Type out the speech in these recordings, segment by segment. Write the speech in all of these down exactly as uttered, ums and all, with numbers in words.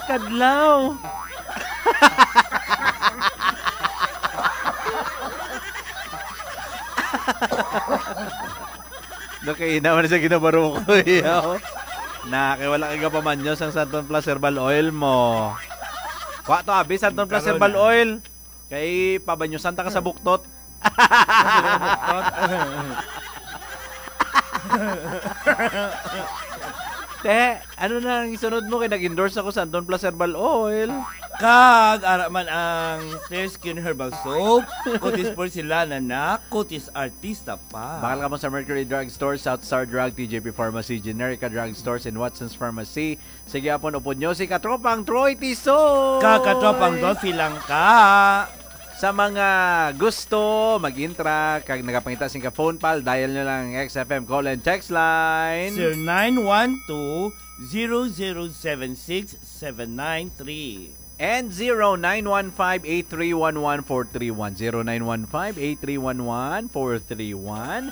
Kadlaw. Nakaina man sa ginabaro ko, yaw. Na, kay wala kay gapamanyo sang Santon Plus Herbal Oil mo. Kwa to, abi, Santon Plus Karon Herbal na. Oil. Kay pabanyosan ta ka sa buktot. Te, ano na ang isunod mo? Kay nag-endorse ako sa Anton Plus Herbal Oil. Kag ara man ang Clear Skin Herbal Soap, Cutis Porcelana na, Cutis Artista pa. Bakal kamo sa Mercury Drug Store, South Star Drug, T J P Pharmacy, Generica Drug Stores, and Watson's Pharmacy. Sige, apon upod nyo si Katropang Troy Tiso. Ka, Katropang Dolphy lang ka. Sa mga gusto mag-intra kag nagapangita sing ka phone pal, dial nyo lang ang X F M call and text line. Zero nine one two, zero zero seven six, seven nine three. And zero nine one five, eight three one one, four three one. Zero nine one five, eight three one one, four three one.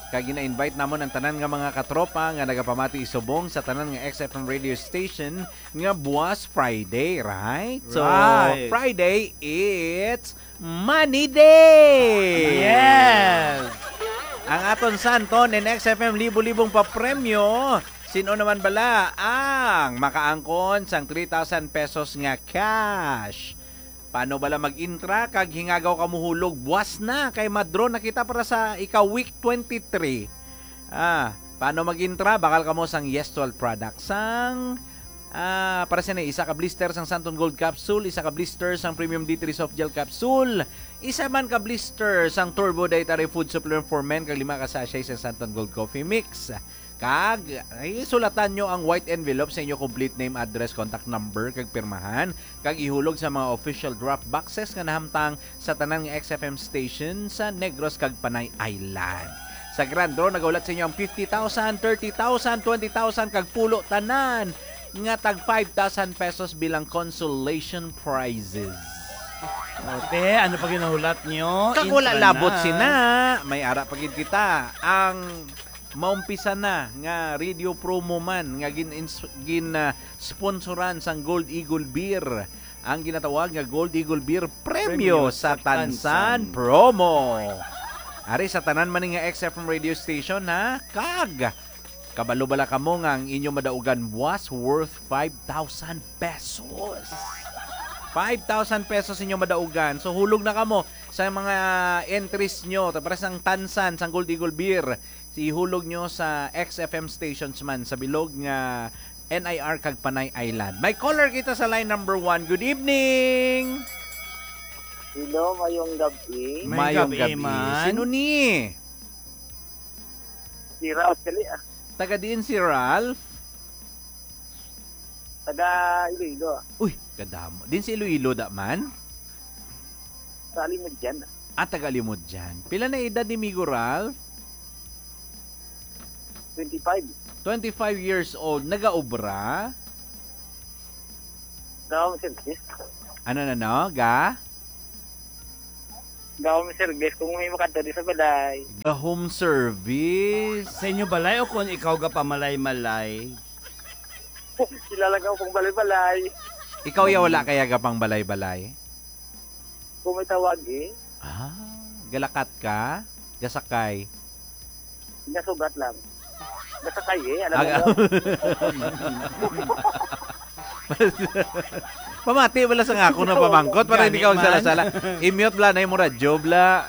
Kag gina-invite namon ang tanan nga mga katropa nga nagapamati subong sa tanan nga X F M radio station nga buwas Friday, right? So, Right. Friday, it's Money Day! Yes! Ang aton Santon and X F M libo-libong papremyo. Sino naman bala ang makaangkon sang three thousand pesos nga cash? Paano bala mag-intra kag hingagaw ka mohulog? Buwas na kay ma-draw na kita para sa ika-week twenty-three. Ah, paano mag-intra? Bakal kamo sang Yes Twelve product. Sang, ah, para sini, isa ka blister sang Santon Gold Capsule, isa ka blister sang Premium D three Soft Gel Capsule, isa man ka blister sang Turbo Dietary Food Supplement for Men, kag lima ka sachet sang Santon Gold Coffee Mix. Kag, ay, sulatan nyo ang white envelope sa inyo complete name, address, contact number, kag pirmahan, kag ihulog sa mga official drop boxes nga nahamtang sa tanan nga X F M station sa Negros kag Panay Island. Sa Grand Draw, nagahulat sa inyo ang fifty thousand, thirty thousand, twenty thousand, kag pulo tanan nga tag five thousand pesos bilang consolation prizes. O, te, ano pa ginahulat nyo? Kag wala Intra labot na. Sina, may ara pa gid kita. Ang maumpisa na nga radio promo man nga gin-, ins-, gin, ah, sponsoran sang Gold Eagle Beer, ang ginatawag nga Gold Eagle Beer Premyo Premyo sa sa Tansan Tansan. Promo. Ari sa tanan man ni nga X F M radio station, ha? Kag kabalo bala kamo nga ang inyo madaugan was worth five thousand pesos? Five thousand pesos inyo madaugan. So, hulog na kamo sa mga entries nyo. Tapos ang Tansan, sang Gold Eagle Beer, ihulog nyo sa X F M stations man sa bilog nga N I R kag Panay Island. May caller kita sa line number one. Good evening! Hello, mayong gabi. Mayong Mayong gabi, gabi. Man. Sino ni? Si Ralph Kali, ah. Taga diin si Ralph? Taga Iloilo. Uy, kadamo. Din si Iloilo da man? Sa Alimodian. Ah, taga Alimodian. Pila na edad ni Migo Ralph? Twenty-five. Twenty-five years old. Nagaobra? Ga-home service. Ano na, no? Ga? Ga-home service. Kung may makadto di sa balay. Ga-home service. Sa inyo balay o kung ikaw ga pamalay-malay? Kilala ka pang balay-balay. Ikaw ya wala kaya ga pang balay-balay? Kung may tawag eh. Ah, galakat ka? Gasakay? Nasugat lang. Gasakay eh. Alam mo Aga- mo? Pamati wala sa nga ako na pamangkot para hindi ka Gani man. Magsala-sala. I-mute bla na yung radyo bla.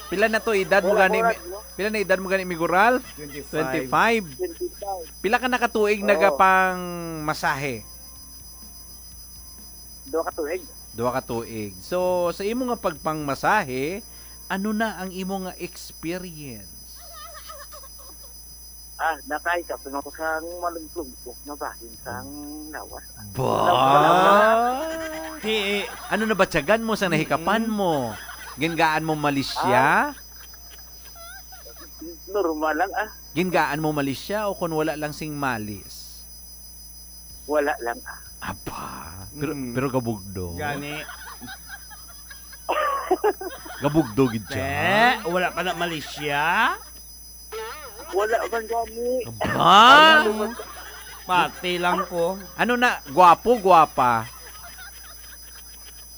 Pila na to edad mo Wala gani? ko Mi-, radyo. Pila na edad mo gani, Migo Ralph? Twenty-five. Twenty-five. Twenty-five. Pila ka nakatuig Oo. Nagapang masahe? Duha ka tuig. Duha ka tuig. So, sa imo nga pagpangmasahe, ano na ang imo nga experience? Ah, nakaisa pa ako sa malugtog na bahin sa lawas. Ba? Ti, ano na ba tiyagan mo sa nahikapan Mm-mm. mo? Gingaan mo malisya? Ah. Normal lang, ah. Gingaan mo malisya o kung wala lang sing malis? Wala lang, ah. Aba, pero, Mm. pero gabugdo. Gani. Gabugdo gid siya. Te, wala pa na malisya? Wala man gani. Aba! Ano man? Pati lang ko. Ano na? Gwapo, gwapa?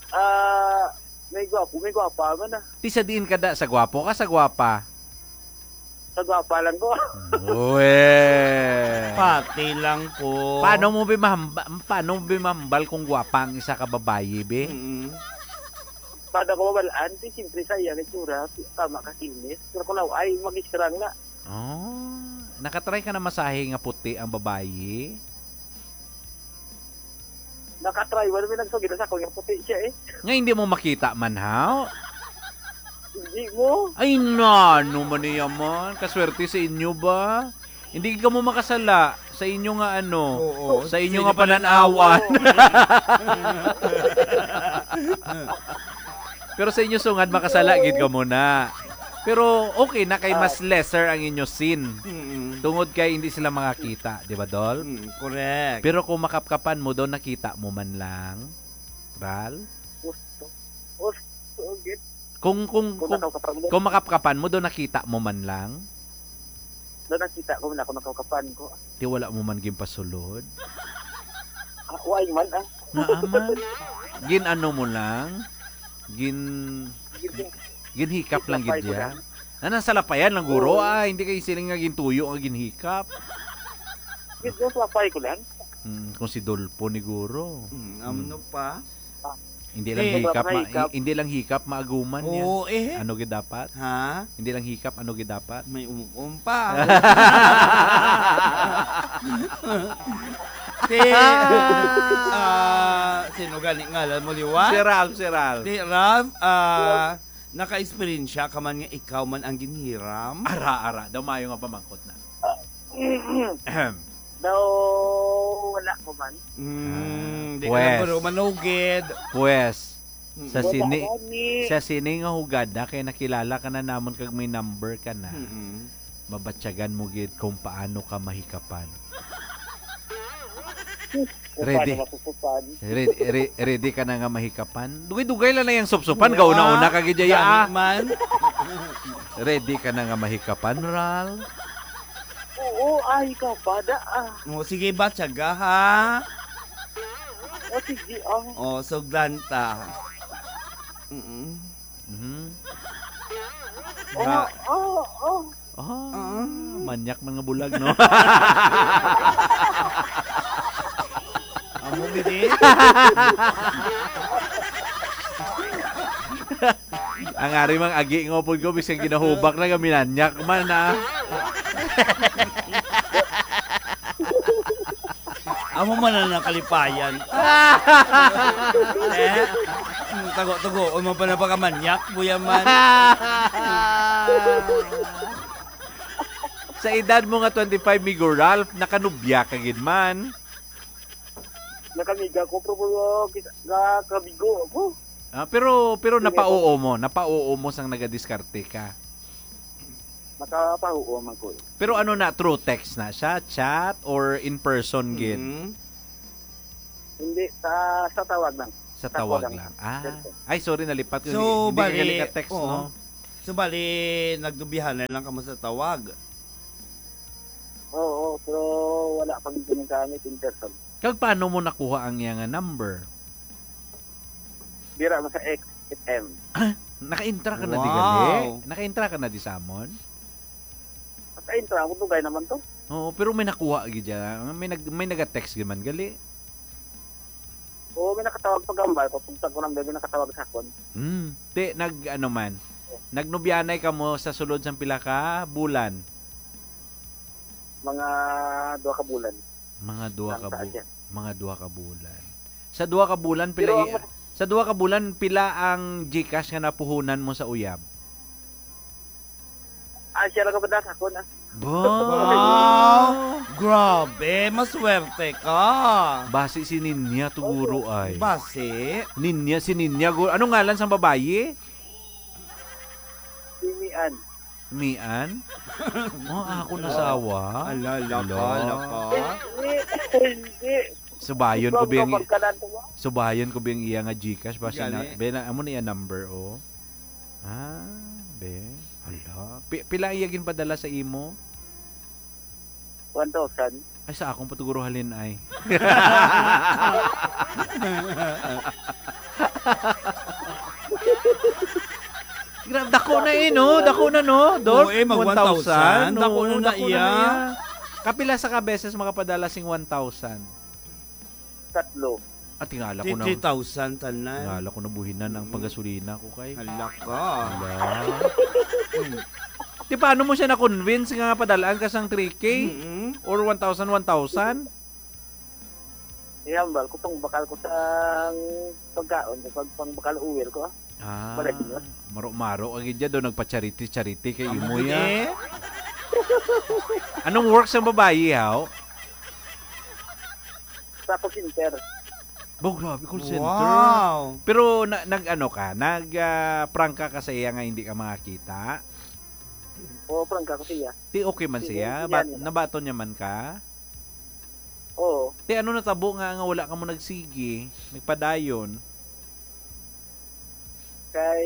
Ah, may gwapo, may gwapa man, ah. Ti sa diin ka da? Sa gwapo ka, sa gwapa? Sa gwapa lang ko. Uwe. Pati lang ko. Paano mo bi mahamba-, paano mo bi mahambal kung gwapa ang isa ka babayi, be? Mm. Paano ko mabalaan? Di, siyempre, sa iya nga itsura, tama ka, kinis. Pero kung law-ay, mag-iskrang na. Oh, nakatry ka na masahe nga puti ang babayi? Nakatry, wala may nagsugid sa ako nga puti siya eh. Nga hindi mo makita man, haw? Hindi mo. Ay, nano man niya man. Kaswerte sa inyo ba? Hindi ka mo makasala sa inyo nga ano, Oo, sa inyo sa nga inyo pananawan. pananawan. Pero sa inyo sungad, makasala gid ka muna. Pero okay na kay mas Ah. lesser ang inyo sin. Mm-mm. Tungod kay hindi sila makakita, di ba, Dol? Mm, correct. Pero kung makapkapan mo daw, nakita mo man lang, Ral? Gusto. Gusto, gid. Kung, kung, Kung kung, nakaukapan mo. kung makapkapan mo daw, nakita mo man lang? Daw nakita ko na kung nakaukapan ko. Ti wala mo man ginpasulod? Ah, why man, ah? Naa man. Gin-ano mo lang? Gin-, Gin-, ginhikap lang gid Ginhikap ko niya? lang. Anang salapayan lang, guro, Oo. ah. Hindi kay siling nga gintuyo nga ginhikap. Gid-, ginsalapay ko lang. Mm, kung si Dolpo ni guro. Mm, Mm. ano pa? Ah. Hindi lang Eh. hikap, ma-, Hikap. hindi lang hikap, maaguman niya. Oo, eh. Ano gid dapat? Ha? Hindi lang hikap, ano gid dapat? May um-um pa. Si, ah, sino gani ngalan mo, liwat? Si Ralph, si Ralph. Si Ralph, ah, naka-eksperyensya ka man nga ikaw man ang ginhiram? Ara, ara. Daw maayo nga pamangkot na. Ahem. Daw wala ko man. Mm, Ah, di ka lang pwes. Guro manugid. Pwes, Mm. sa Wala sini-, gani. Sa sini nga hugada kay nakilala ka na namon kag may number ka na. Mm-mm. Mabatyagan mo gid kung paano ka mahikapan. Kung Ready. Paano masusupan. Re-, re-, ready ka na nga mahikapan? Dugay-dugay lang na yung supsupan. Wow. Gauna-una ka gid, Jaya, Gani ah. Man. Ready ka na nga mahikapan, Ral? Oo, ay, ka, bada, ah. O, sige ba, tiyaga, ha? O, sige, ah. O, sugdan ta. Mm-mm. Mhm. Oh, Ba- oh, oh. Ah, Ah. Manyak man nga bulag, no? Amo gid eh. Ang ari mang agi nga upod ko, bisag ginahubak na, gaminanyak man, ah. Amo man na nakalipayan. Eh? Mm, tago-tago, o mo pa na pagkamanyak, buya man. Sa edad mo nga twenty-five, Migo Ralph, nakanubya ka gid man. Nakamiga ko, pero, uh, kita-, nakamigo ako. Ah, pero, pero Sige, napauo mo, napauo mo sang nagadiskarte ka. Nakapahuo man ko eh. Pero ano na, through text na siya, chat, or in person gid? Mm. Hindi, sa, sa tawag lang. Sa Sa tawag tawag lang. lang. Ah. Cellphone. Ay, sorry, nalipat ko. So, Hindi, hindi ka bali, galing ka text, oo. No? So, bali, nagdubihan na lang kamo sa tawag? Oo, pero wala pa gid kami gamit in person. Kag paano mo nakuha ang iya nga number? Dira mo sa X F M. Ah, naka-intra ka na di Wow. gali? Naka-intra ka na di sa amon? Naka-intra, ako dugay naman to. Oo, pero may nakuha gid siya. May nag-, may naga-text gid man gali. Oo, may nakatawag pa gambal ko. Kung saan ko nang may nakatawag sa akon. Hmm. Te, nag-, ano man, nagnubyanay ka mo sa sulod sang pila ka bulan? Mga duha ka bulan. Mga duha Lang ka sa bu-, Asia. Mga duha ka bulan. Sa duha ka bulan, pila Pero i-, ang sa duha ka bulan, pila ang GCash nga napuhunan mo sa uyab? Ah, siya lang ang madalas ako na. Ba? Wow! Grabe, maswerte ka. Basi si Ninya to, guro, ay. Basi? Ninya, si Ninya, guro. Anong ngalan sang babayi? Si Mian. Mian? Oh, ako nasawa. Ala, laka, Ala. laka. Hindi, hindi. Subayon ko Ikaw, biyang ikaw, pagkanan ko ba? Subayon ko biyang iya nga GCash, basi na, Gani. be, na, amo na iya number, oh. Ah, be. Hala. Pi-, pila iya ginpadala sa imo? One thousand. Ay, sa akong patuguro halin ay. Gra-, dako na eh, no? Dako na, no? Dolph, Oo, eh, mag one thousand. Dako na Oo, na dako na iya. na iya. Kapila sa ka beses makapadala sing one thousand? Tatlo. Ah, tingala ko na. Three thousand tanan. Tingala ko na buhinan ang Mm. panggasolina ko kay. Hala ka. Hala. Hmm. Di paano mo siya na-convince nga padalaan ka sang three K? Mm-mm. Or one thousand, one thousand? Ihambal ko, pangbakal ko sa pagkaon, sa pag-, pangbakal oil ko. Ah, Balay niya. Maro-maro ang gid do, nagpa-charity-charity kay Amo imo gid ya. eh. Anong work sa babayi, haw? Sa call center. Bo, grabe, call center. Wow. Pero na-, nag-ano ka, nag, ah, prangka ka sa iya nga hindi ka makakita? Oo, prangka ko siya. Ti okay man Sige, siya? sige, Bat-, ano. Nabaton niya man ka? Oo. Ti ano natabo nga, nga wala ka mo nagsigi, nagpadayon? Kay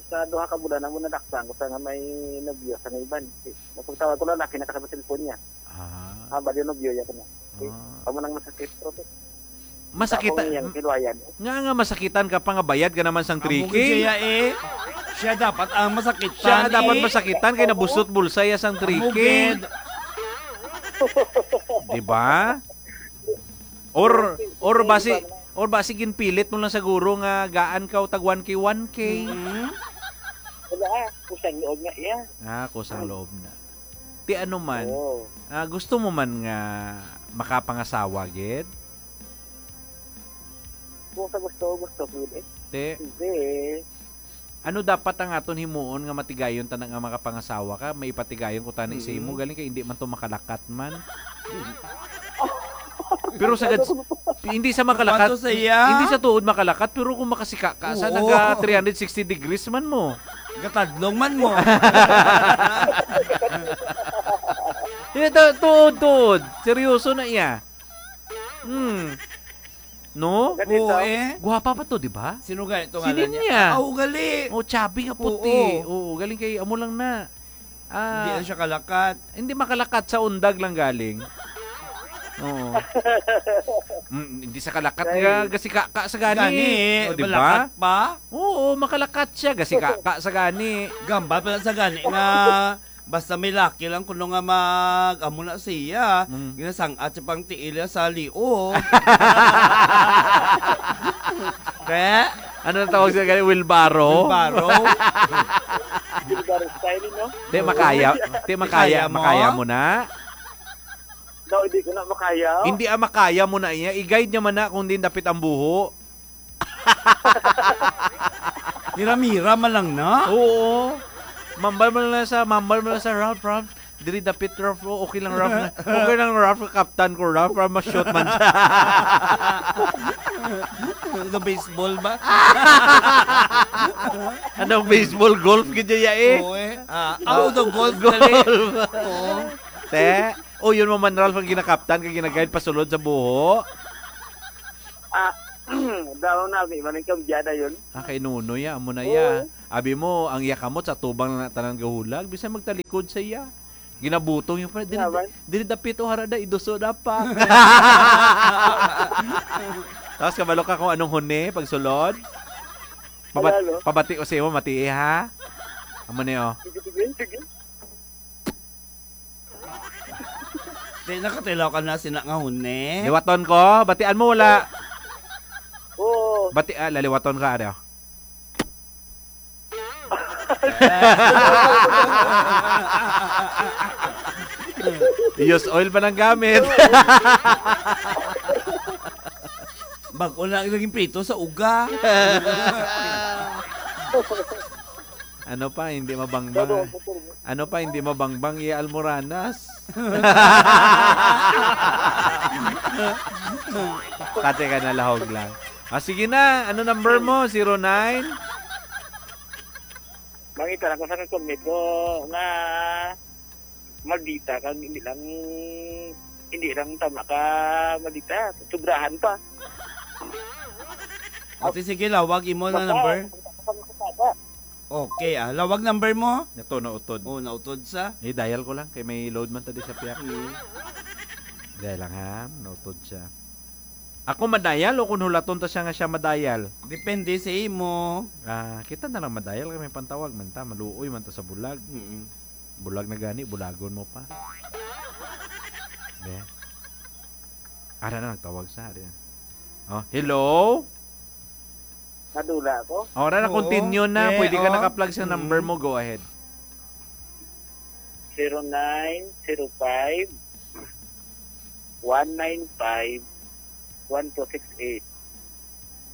sa duha ka bulan, amo nadakpan ko sa nga may nobyo sa nga iban. Napagtawag ko lalaki, nakasabot cellphone niya. Ah. Ah, bali nobyo, ya ko na. Eh, Ah. amo nang masakit, profe. Masakit Tapos ang iyang silwayan. Nga, nga masakitan ka pa nga bayad ka naman sang Amo three K. gid siya eh. Siya dapat ang masakitan Siya dapat eh. masakitan kay nabusot bulsa ya sang Amo three K. gid. Di ba? Or, or basi, or basi ginpilit mo lang siguro nga gaan ka o tag one K, one K. Mm. Wala, ah. Kusang loob nga iya. Ah, kusang loob na. Ti ano man, Oo. ah, gusto mo man nga makapangasawa gid? Kung sa gusto, gusto ko yun eh. Ti, Hindi eh. ano dapat ang aton himuon nga matigayon ta na nga makapangasawa ka? May ipatigayon ko tani sa imo, Mm. galing kay hindi man to makalakat man. Pero sa gad-, hindi sa makalakat, Pato sa iya. hindi sa tuod makalakat, pero kung makasika ka, sa Oo. naga three hundred sixty degrees man mo. Gatadlong man mo. Ito, tuod, tuod. Seryoso na iya. Hmm. No? Ganito. Oo, eh. Guwapa pa to, di ba? Sino gani to Sino ngalan niya? niya? Ah, ugali. Oh, chubby nga puti. Oo. Oo, galing kay amo lang na. Ah, Hindi na siya kalakat. hindi makalakat sa undag lang galing. Oo. Mm, hindi sa kalakat Ay. nga, gasika ka sa gani. Gani, Oh, di ba? malakat pa. Oo, makalakat siya, gasika ka sa gani. Gambal pala sa gani nga basta may laki lang kuno nga mag-, amo na siya. Mm. Ginasang-at siya pang tiil niya sa liog. Te? Ano ang tawag sa gani? Wheelbarrow? Wheelbarrow? Wheelbarrow style, no? Te, makaya, te, makaya, Kaya mo? makaya mo na? Daw, hindi ko na makaya. Hindi, ah, makaya mo na iya. I-guide niya man na kung din dapit ang buho. Hiram-hiram man lang na. Oo. Mambal mo lang sa, mambal mo lang sa Ralph, Ralph. Diri dapit, Ralph. Oh, okay lang, Ralph. Okay lang, Ralph. Kaptan ko, Ralph. Para ma-shoot man siya. Ano, baseball ba? Anong baseball? Golf gid ya eh. Oo eh. Ah, ah, daw golf, dali. Golf. Oo. Te, oh, yun mo man, Ralph, ang ginakaptan, kag ginaguide pasulod sa buho. Ah, daw na, may maning kambyada yun. Ah, kay Nunoy, ah, amo na iya. Oo. Abi mo, ang iya kamot sa tubang na tanan gahulag, bisan magtalikod sa iya. Ginabutong yung pa, dili, Naman. dili dapit o harada, iduso na pa. Tapos kabalo ka kung anong huni, pagsulod. Pabat-, Wala, no? pabati ko sa imo, mati, ha? Amo ni, oh. Sige, sige, sige. Di, nakatilaw ka na sina nga huni. Liwaton ko, batian mo, wala. Oo. Bati-, ah, laliwaton ka, ano? Use oil pa ng gamit. Bag-o na ang naging prito sa uga. Ano pa, hindi mabangbang? Ano pa, hindi mabangbang, iya almoranas? Kate ka na, lahog lang. Ah, sige na, ano number mo? Zero nine? Mangita lang ko sa kakumit ko nga maldita, kag hindi lang, hindi lang tama ka maldita, sobrahan pa. Ate, sige, lawag imo na Basta, number. basta, basta, basta. Okay, ah. Lawag number mo? Ito, nautod. Oh, nautod sa? Eh, dial ko lang. Kay may load man tadi sa piyak. Hmm. Dial lang ha. Nautod siya. Ako madial o kung hulaton ta siya nga siya madial? Depende sa imo. Ah, kita na lang madial kay may pantawag man ta. Maluoy man ta sa bulag. Mm-mm. Bulag na gani, bulagon mo pa. Yeah. Ara na, nagtawag sa. Ari na. Oh, hello? Nadula ako. Ora na, Oo. Continue na. Eh, Pwede ka oh. naka-plug sa number Mm. mo. Go ahead. Zero nine zero five one nine five one two six eight.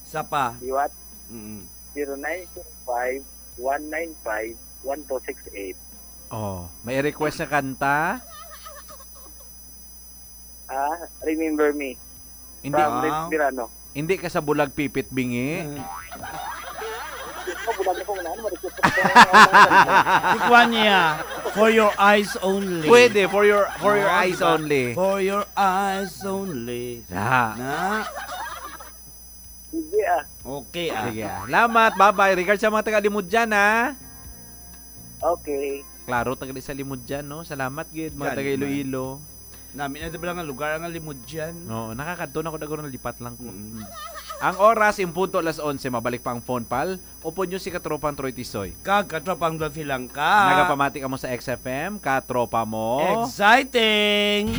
Sa pa. Liwat, Mm-mm. zero nine zero five one nine five one two six eight. Oh, may request na kanta? Ah, Remember Me. Hindi, From Ah. Rich Mirano. hindi ka sa bulag pipit bingi. Oh, bulag ako na, ano, ma-request ako. Ikuha niya. For your eyes only. Pwede, for your for your Oh, eyes diba? Only. For your eyes only. Na. Na. Sige ah. Okay, ah. Sige, ah. Salamat. Bye-bye. Regards sa mga taga Limudyan, ha? Okay. Klaro, taga sa Limudyan, no? Salamat, gid, mga Gani taga man. Iloilo. Nami na ba nga lugar ang Limudyan? No, nakakadto na ko, daguro nalipat lang ko. Mm. Ang oras, in punto alas onse, mabalik pa ang phone pal. Upod nyo si Katropang Troy Tisoy. Kag katropang Dolphy lang ka. Nagapamati ka mo sa X F M, katropa mo. Exciting!